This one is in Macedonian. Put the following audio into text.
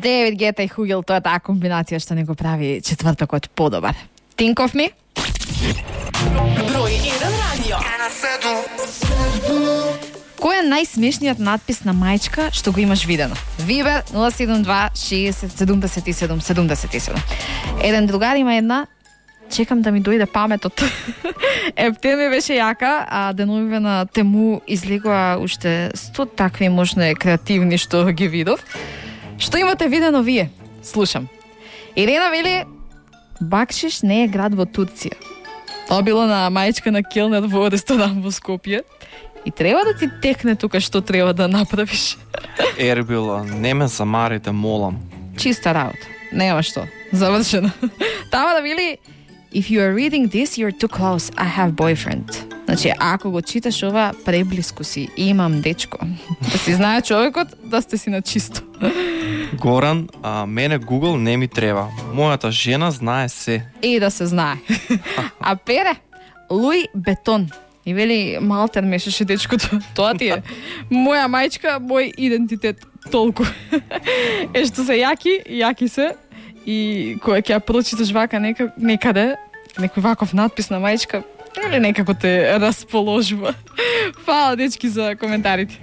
Девид Гета и Хугел, тоа е таа комбинација што не го прави четвртокот подобар. Think of me? Број 1 радио. Кој е најсмешниот надпис на мајчка што го имаш видено? Вибер 072 60 77 77. Еден другар има една, чекам да ми дојде паметот. Ептен ми беше јака, а деновиве на Тему излегува уште 100 такви можне креативни што ги видов. Што имате видено вие? Слушам. Ирена вели, бакшиш не е град во Турција. Тоа било на мајчка на келнер во ресторан во Скопје. И треба да ти текне тука што треба да направиш. Ербила, не ме замарите, молам. Чиста работа. Нема што. Завршено. Тама да вели, if you are reading this, you're too close. I have boyfriend. Значи, ако го читаш ова, преблиску си. Имам дечко. Да си знае човекот, да сте си на чисто. Горан, мене Google не ми треба. Мојата жена знае се. И да се знае. А Пере, Луи Бетон. И вели, Малтер мешаше дечкото. Тоа ти е. Моја мајчка, мој идентитет. Толку. Што се јаки се. И кога ќе ја прочиташ вака некаде, некој ваков надпис на мајчка, или некако те расположува. Фала, дечки, за коментарите.